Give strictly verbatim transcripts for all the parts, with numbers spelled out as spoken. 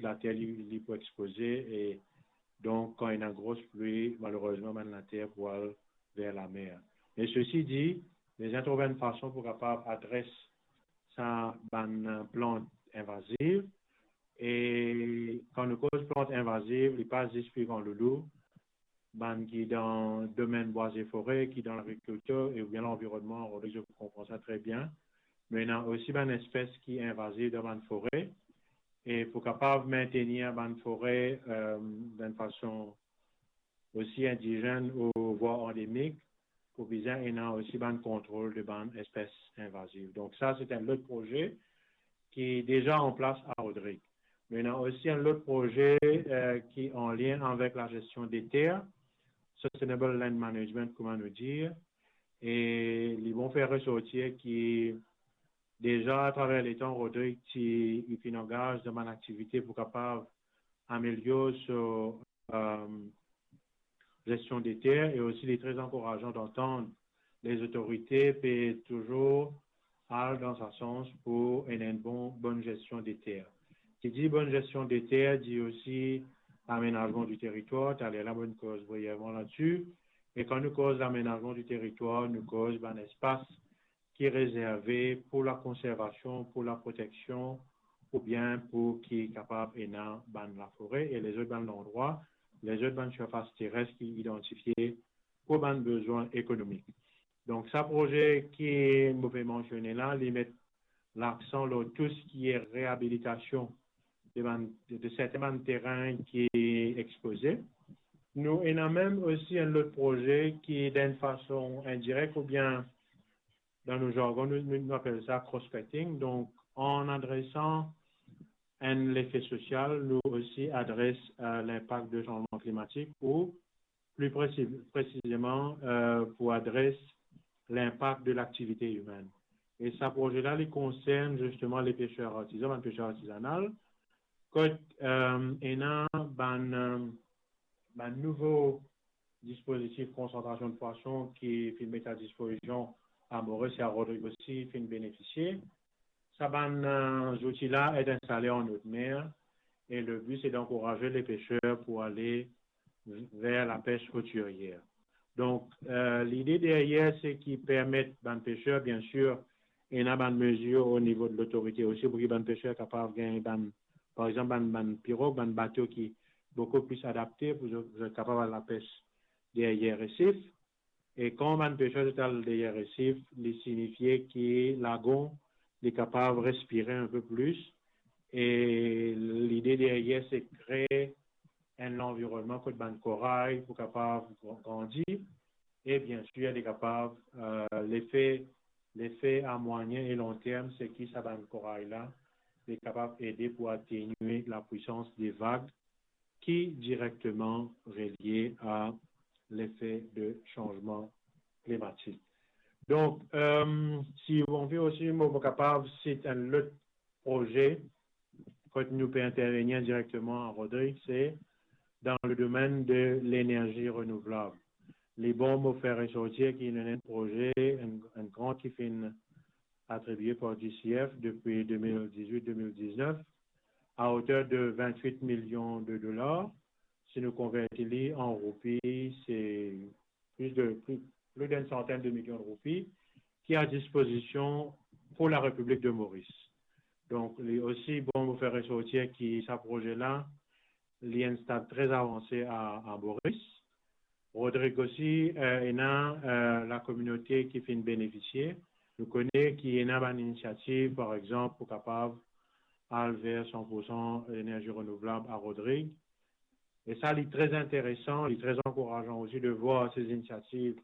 later li, li pou expoze, e donk, kan ena gros pli, malerezman, bann later pou al ver lamer. Me sesi di, bizin trouv enn fason pou kapav adres sa bann, eh, plant invaziv. E kan nou koz plant invaziv, li pa zis pikan loulou, bann ki dan domenn bwa e fore, ki dan lagrikiltir e oubien lanvironnman, Rodrig, zot pou konpran sa tre bien. Me ena osi bann espes ki invaziv dan bann fore. E pou kapav mentenir bann fore, eh, dan enn fason osi indizenn ou vwar andemik, pou bizin ena osi bann kontrol de bann espes invaziv. Donk sa, se enn lot proze ki deza an plas a Rodrig. Me ena osi enn lot proze, eh, ki an lien avek lagestion de ter, sustainable land management, kouma nou dir, e li bon fer resortir ki deza atraver letan, Rodrig ti, li finn angaz dan bann aktivite pou kapav amelior so, eh, gestion de ter, e osi li tre ankourazan d'antann lezotorite pe touzour al dan sa sans pou ena enn bon, bonn gestion de ter. Ki dir bonn gestion de ter, dir osi lamenazman di teritwar, taler la, mo koz brievman ladsi. E kan nou koz lamenazman di teritwar, nou koz bann espas ki rezerve pou lakonservasion, pou laproteksion, oubien pou ki kapav ena bann lafore e lezot bann landrwa, lezot bann sirfas teres ki idantifie pou bann bezwin ekonomik. Donk, sa proze ki mo pe mansione la, li met laksan lor tou seki reabilitasion de bann, de, de sertin bann terin ki expoze. Nou ena mem osi enn lot proze ki, dan enn fason indirek oubien dan nou zargon, nou, nou, nou apel sa cross-cutting. Donk, an adresan enn lefe sosial, nou osi adres, eh, linpak de sanzman klimatik ou pli presi-, presizeman, eh, pou adres linpak de laktivite imenn. E sa proze la, li konsern zisteman lepeser artizan, bann peser artizanal, kot, eh, ena bann, eh, bann nouvo dispozitif konsantrasion de pwason ki finn met a dispozision a Moris e a Rodrig osi finn benefisie. Sa bann, eh, zouti la ete instale an not mer e le bi se d'ankouraz lepeser pou ale ver lapes rotiryer. Donk, eh, lide deryer se ki permet bann peser, biensir, ena bann mezir o nivo de lotorite osi pou ki bann peser kapav gagn bann, par exanp, bann, bann pirog, bann bato ki boukou pli adapte pou zot, zot kapav al lapes deryer resif. E kan bann peser zot al deryer resif, li sinifie ki lagon li kapav respire enn pe plis. E lide deryer se kre enn lanvironnman kot bann koray pou kapav gran-, grandi. E biensir, li kapav, eh, lefe, lefe a mwayin e lonterm, se ki sa bann koray la, li kapav ede pou atenue lapwisans de vag ki direkteman relie a lefe de sanzman klimatik. Donk, eh, si ou anvi osi, mo, mo kapav sit enn lot proze kot nou pe intervenir direkteman a Rodrig, se dan le domenn de lenerzi renouvlab. Li bon mo fer resortir ki nou ena enn proze, enn, enn grant ki finn atribie par G C F depi de mil dizwit de mil diznef, a oter de vintwit milion de dolar. Si nou konverti li an roupi, se plis de, pli, plis d'enn santenn de milion de roupi ki a dispozision pou Larepiblik de Moris. Donk, li osi bon mo fer resortir ki sa proze la, li enn stad tre avanse a, a Moris. Rodrig osi, eh, ena, eh, lakominote ki finn benefisie. Nou kone ki ena bann inisiativ, par exanp, pou kapav al ver san pou san lenerzi renouvlab a Rodrig. E sa, li tre interesan, li tre ankourazan osi de vwar se inisiativ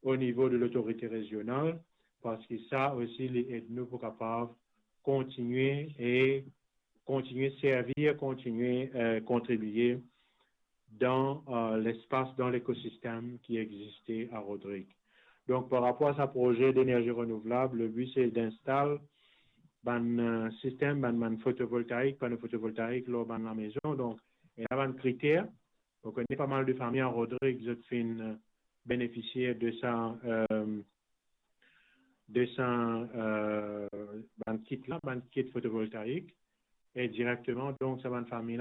o nivo de lotorite rezional, parski sa osi, li ed nou pou kapav kontinie e kontinie servi, kontinie, eh, kontribie dan, eh, lespas, dan lekosistem ki existe a Rodrig. Donk, par rapor a sa proze denerzi renouvlab, le bi se d'instal bann, eh, sistem, bann, bann fotovoltaik, pano fotovoltaik lor bann lamezon. Donk, ena bann kriter. Mo kone pa mal de fami a Rodrig, zot finn, eh, benefisie de sa, eh, de sa, eh, bann kit la, bann kit fotovoltaik. e direkteman, donk, sa bann fami